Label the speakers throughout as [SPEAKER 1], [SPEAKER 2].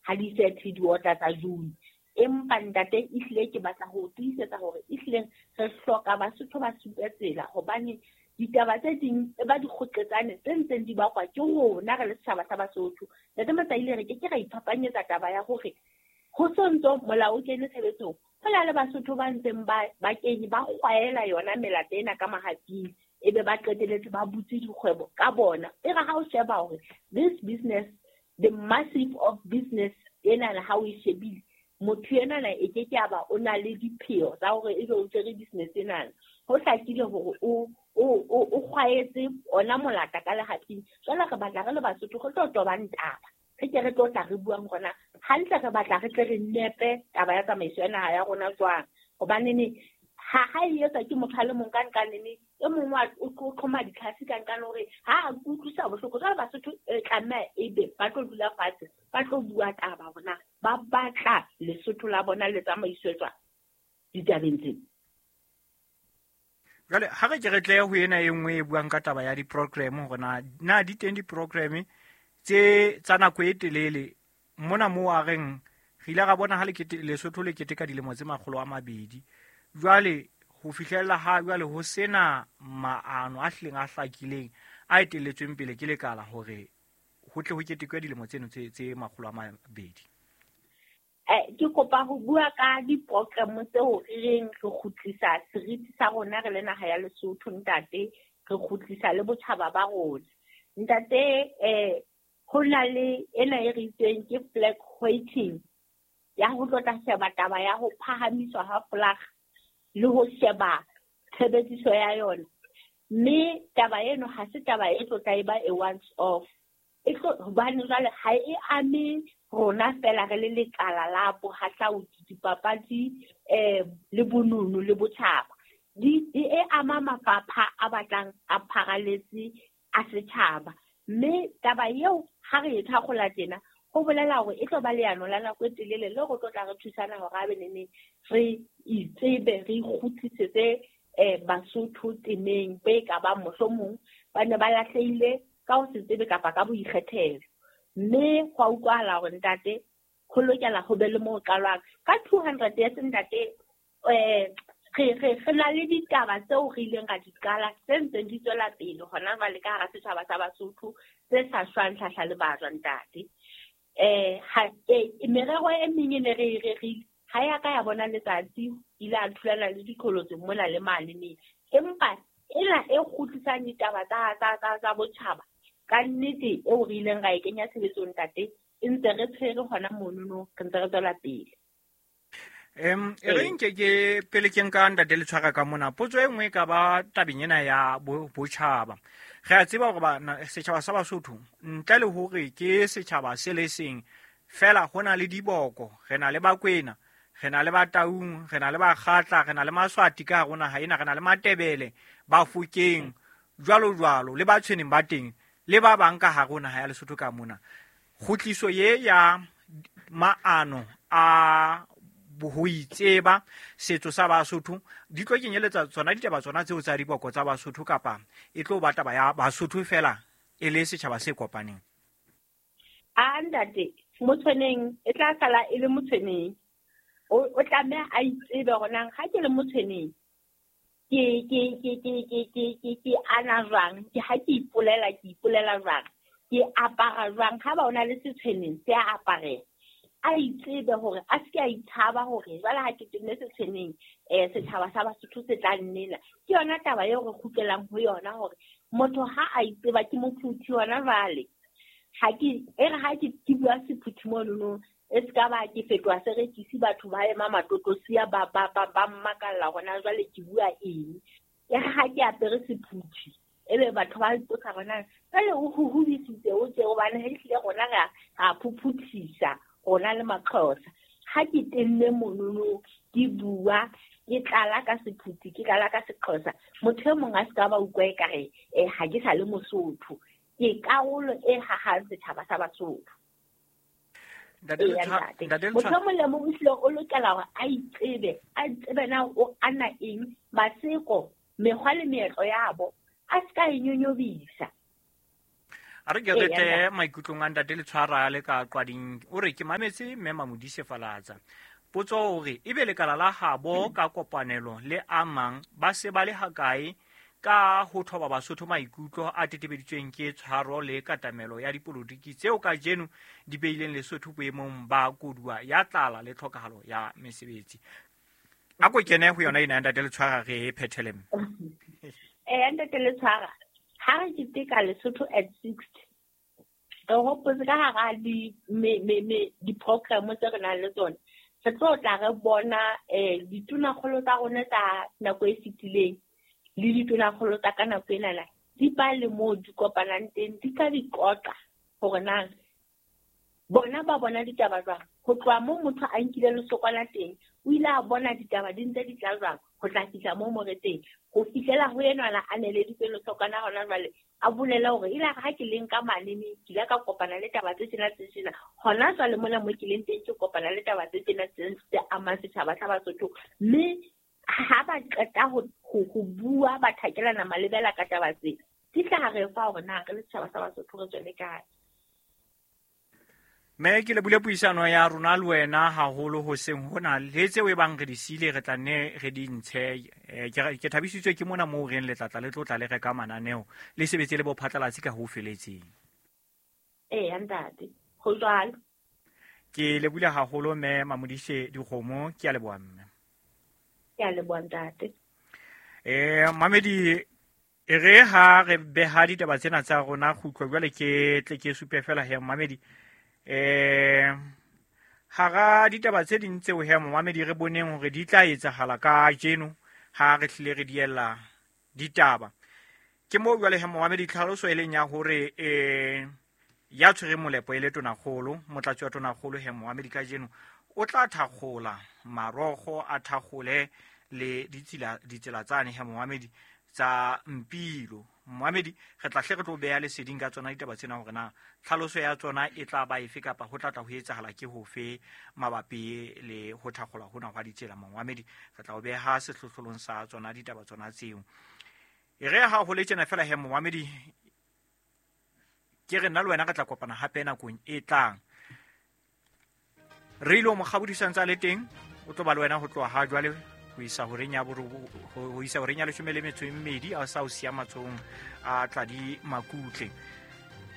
[SPEAKER 1] Ha di 30 diota tsa June. Empa ntate ehlile ke batla ho tiisetsa hore ehlile re hloka Basotho ba supe tsela, hobane ditaba tse ding e ba dikgoqetsane tse ntseng di bakwa ke rona re le setjhaba sa Basotho. Ntate Matsaile, re ke ke ra iphapanyetsa taba ya hore ho sontso molao o kene tshebetsong, ho na le Basotho ba ntseng ba kenye ba kgwaela yona melata ena ka mahaping, ebe ba qeteletse ba butse dikgwebo ka bona. E re ha o sheba hore this business, the massive of business ena, ha o e shebile, motho enana e ke ke a ba o na le dipheo tsa hore ebe o tshwere business enana. Ho hlakile hore o kgwaetse ona molata ka lehaping. Jwale re batla re le Basotho re tlo tobang taba, re ke re tlo tla re buang rona hantle, re batla re tle re nepe taba ya tsamaiso ya naha ya rona jwang, hobane ne ha e etswa ke motho a le mong ka nqane, e mongwe o qhoma ditlhase ka nqane hore ha a kutlwisa bohloko. Jwale Basotho e tlameha ebe ba tlo dula fatshe, ba tlo bua taba hore na ba batla Lesotho la bona le tsamaiswe jwang ditabeng tsena.
[SPEAKER 2] Jwale ha re ke re tle ho ena e nngwe e buang ka taba ya di-program, hore na di teng di-program tse tsa nako e telele mona moo a reng re ile ra bona ha Lesotho le keteka dilemo tse 200. Jwale ho fihlella ha jwale ho sena maano a hlileng a hlakileng a etelletsweng pele ke lekala hore ho tle ho ketekwe dilemo tseno tse 200.
[SPEAKER 1] Ke kopa ho bua ka di-program tseo re reng re kgutlisa seriti sa rona re le naha ya Lesotho, ntate, re kgutlisa le botjhaba ba rona. Ntate, ho na le ena e re itseng ke flag hoisting, ya ho tlo tla sheba taba ya ho phahamiswa ha flag le ho sheba tshebediso ya yona. Mme taba eno ha se taba e tlo tla e ba a once off. E tlo, hobane jwale ha e ame rona fela re le lekala la bohahlaudi, dipapadi, le bonono le botjhaba. E ama mafapha a batlang a pharaletse a setjhaba. Mme taba eo ha re e thakgola tjena, ho bolela hore e tlo ba leano la nako e telele le re tlo tla re thusana hore a be nene re itsebe, re ikgutlisetse Basotho temeng be ka bang mohlomong ba ne ba lahlehile ka ho se tsebe kapa ka boikgethelo. Mme ho a utlwahala hore ntate ho lokela ho be le moo qalwang. Ka 200 years ntate, re na le ditaba tseo re ileng ra di qala tse ntseng di tswela pele hona jwale ka hara setjhaba sa Basotho tse sa shwang hlahla le bajwa ntate. Merero e meng e ne re e rerile ha ya ka ya bona letsatsi, ile a thulana le diqholotso mona le mane ne. Empa ena e kgutlisang ditaba tsa botjhaba ka nnete eo re ileng ra e kenya tshebetsong ntate, e ntse re tshwere hona monono, re ntse re tswela pele.
[SPEAKER 2] E re nke ke pele ke nka ntate le tshwara ka mona, potso e nngwe e ka ba tabeng ena ya botjhaba. Re a tseba hore setjhaba sa Basotho ntle le hore ke setjhaba se le seng fela, ho na le diboko, re na le Bakwena, re na le Bataung, re na le Bakgatla, re na le Maswati ka hare ho naha ena, re na le Matebele, Bafokeng, jwalo jwalo, le ba tshweneng ba teng, le ba bang ka hare ho naha ya Lesotho ka mona. Kgutliso ye ya maano a ho itseba setso sa Basotho di tlo kenyeletsa tsona ditaba tsona tseo tsa diboko tsa Basotho, kapa e tlo ba taba ya Basotho fela e le setjhaba se kopaneng?
[SPEAKER 1] A ntate, Motshweneng e tla sala e le Motshweneng. O tlameha a itsebe hore na ha ke le Motshweneng ke ana jwang, ke ha ke ipolela, ke ipolela jwang, ke apara jwang, ha ba o na le Setshweneng se a aparela. A itsebe hore a se ke a itshaba hore jwale ha ke tenne Setshweneng, setjhaba sa Basotho se tla nnena. Ke yona taba eo re kgutlelang ho yona hore motho ha a itseba ke mophuthi hona jwale. Ha ke, e re ha ke bua Sephuthi monono, e se ka ba ke fetoha serekisi, batho ba ema matotosiya ba mmakalla hore na jwale ke bua eng. E re ha ke apere Sephuthi, ebe batho ba ipotsa hore na jwale o huhudisitse o tje, hobane ha ehlile rona re a phuphuthisa rona le Maxhosa. Ha ke tenne monono, ke bua, ke tlala ka Sephuthi, ke tlala ka Sexhosa, motho e mong a se ka ba utlwa ekare, ha ke sa le Mosotho. Ke karolo e hahang setjhaba sa Basotho.
[SPEAKER 2] Ntate
[SPEAKER 1] Eya, ntate.
[SPEAKER 2] Ntate
[SPEAKER 1] Motho
[SPEAKER 2] Letshwa-
[SPEAKER 1] e mong le mong o hlile o lokela hore a itsebe, a tsebe na o ana eng, maseko, mekgwa le meetlo ya bo, a se ka e nyonyobisa.
[SPEAKER 2] A re ke re tle maikutlong a ntate Letshwara le ka Qwading. O re ke mametse mme Mamodise Falatsa. Potso hore ebe lekala la habo ka kopanelo le a mang ba se ba le hakae ka ho thoba Basotho maikutlo a tetebeditsweng ke tshwaro le katamelo ya dipolotiki tseo kajeno di beileng Lesotho boemong ba koduwa ya tlala le tlhokahalo ya mesebetsi. A ko kene ho yona ena ya ntate Letshwara re e phethele mme.
[SPEAKER 1] Ntate Letshwara, ha re keteka Lesotho at 60, re hopotse ka hara di-program tse re nang le tsona, re tlo tla re bona ditonakgolo tsa rona tsa nako e fetileng le ditonakgolo tsa ka nako enana di ba le moo di kopanang teng, di ka di qoqa hore na bona ba bona ditaba jwang. Ho tloha moo motho a nkile lesokwana teng, o ile a bona ditaba di ntse di tla jwang ho tla fihla moo mo re teng, ho fihlela ho enwana a neleditswe lesokwana hona jwale, a bolela hore ile ha ke leng ka manene ke ile ka kopana le taba tse tjena tse tjena, hona jwale mona mo ke leng teng ke kopana le taba tse tjena tse amang setjhaba sa Basotho. Mme ha ba qeta ho bua ba thakelana malebela ka taba tse, di tla re fa hore na re le setjhaba sa Basotho re tswele kae.
[SPEAKER 2] Mme ke lebule puisano ya rona le wena haholo hoseng hona le tseo e bang re di siile re tla nne re di ntshe. Ke thabisitswe ke mona moo reng le tlatla le tlotla le reka mananeo le sebetse le bophatlalatsi ka ho feletseng.
[SPEAKER 1] Eya ntate, ho jwalo.
[SPEAKER 2] Ke lebule haholo mme Mamodise Dikgomo, ke a leboha mme.
[SPEAKER 1] Ke a leboha ntate.
[SPEAKER 2] Mamedi, e re ha re beha ditaba tsena tsa rona kgutlo jwale ke tle ke supe fela he Mamedi. Hara ditaba tse ding tseo he Mamedi re boneng hore di tla etsahala kajeno ha re hlile re diella ditaba. Ke moo jwale he Mamedi tlhaloso e leng ya hore ya tshwere molepo e le tonakgolo, motlatsi wa tonakgolo he Mamedi kajeno o tla thakgola marokgo a thakgole le ditsela tsane he Mamedi tsa Mpilo. Mohamedi re tla hle re tlo beha leseding ka tsona ditaba tsena hore na tlhaloso ya tsona e tla ba efe kapa ho tla tla ho etsahala ke hofe mabapi le ho thakgola hona hwa ditsela. Mohamedi re tla o beha sehlohlolong sa tsona ditaba tsona tseo. E re ha ho le tjena fela he Mohamedi, ke re nna le wena re tla kopana hape nakong e tlang. Re ile mo kgabodisang tsa le teng, o tlo ba le wena ho tloha ha jwale ho isa horeng ya ho isa horeng ya 12 a sa o siya matsohong a Tladi Makutle.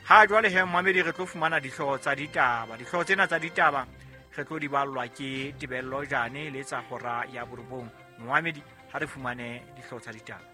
[SPEAKER 2] Ha jwale he Mohamedi re tlo fumana dihlooho tsa ditaba. Dihlooho tsena tsa ditaba re tlo di ballwa ke Tebello Jane le tsa hora ya 9. Mohamedi ha re fumane dihlooho tsa ditaba.